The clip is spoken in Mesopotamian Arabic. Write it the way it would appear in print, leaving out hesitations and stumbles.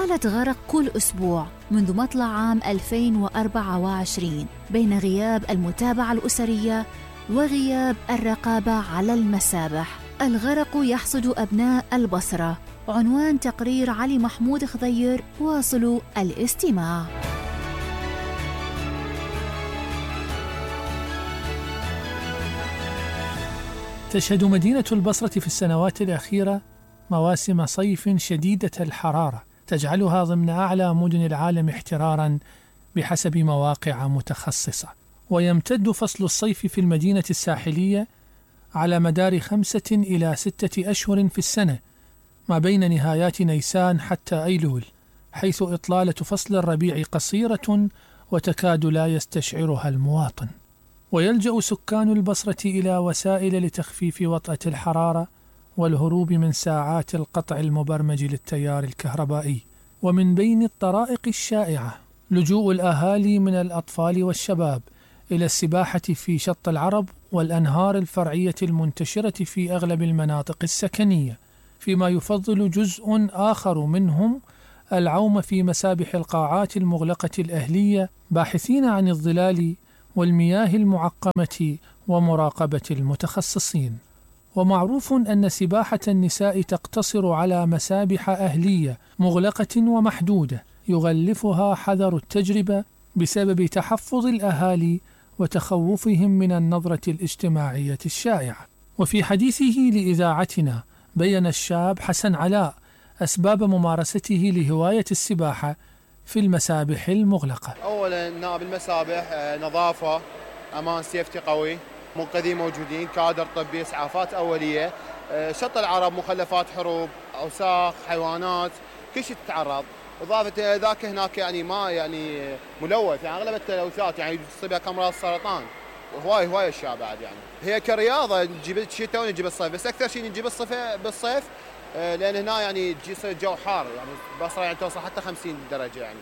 حالة غرق كل أسبوع منذ مطلع عام 2024 بين غياب المتابعة الأسرية وغياب الرقابة على المسابح. الغرق يحصد أبناء البصرة. عنوان تقرير علي محمود خضير. واصلوا الاستماع. تشهد مدينة البصرة في السنوات الأخيرة مواسم صيف شديدة الحرارة تجعلها ضمن أعلى مدن العالم احتراراً بحسب مواقع متخصصة. ويمتد فصل الصيف في المدينة الساحلية على مدار 5 إلى 6 أشهر في السنة، ما بين نهايات نيسان حتى أيلول، حيث إطلالة فصل الربيع قصيرة وتكاد لا يستشعرها المواطن. ويلجأ سكان البصرة إلى وسائل لتخفيف وطأة الحرارة والهروب من ساعات القطع المبرمج للتيار الكهربائي. ومن بين الطرائق الشائعة لجوء الأهالي من الأطفال والشباب إلى السباحة في شط العرب والأنهار الفرعية المنتشرة في أغلب المناطق السكنية، فيما يفضل جزء آخر منهم العوم في مسابح القاعات المغلقة الأهلية، باحثين عن الظلال والمياه المعقمة ومراقبة المتخصصين. ومعروف أن سباحة النساء تقتصر على مسابح أهلية مغلقة ومحدودة يغلفها حذر التجربة بسبب تحفظ الأهالي وتخوفهم من النظرة الاجتماعية الشائعة. وفي حديثه لإذاعتنا بيّن الشاب حسن علاء أسباب ممارسته لهواية السباحة في المسابح المغلقة. أولا نائب المسابح نظافة، أمان، سيفتي قوي، منقذين موجودين، كادر طبي، إسعافات أولية، شط العرب، مخلفات حروب، أوساخ، حيوانات، كل شيء تتعرض. إضافة ذاك هناك يعني ما يعني ملوث، يعني أغلب التلوثات يعني تصيبها أمراض السرطان، وهواي أشياء بعد. يعني هي كرياضة نجيب الشتاء ونجيب الصيف، بس أكثر شيء نجيب بالصيف لأن هنا يعني يصير الجو حار، يعني البصرة يعني توصل حتى 50 درجة يعني.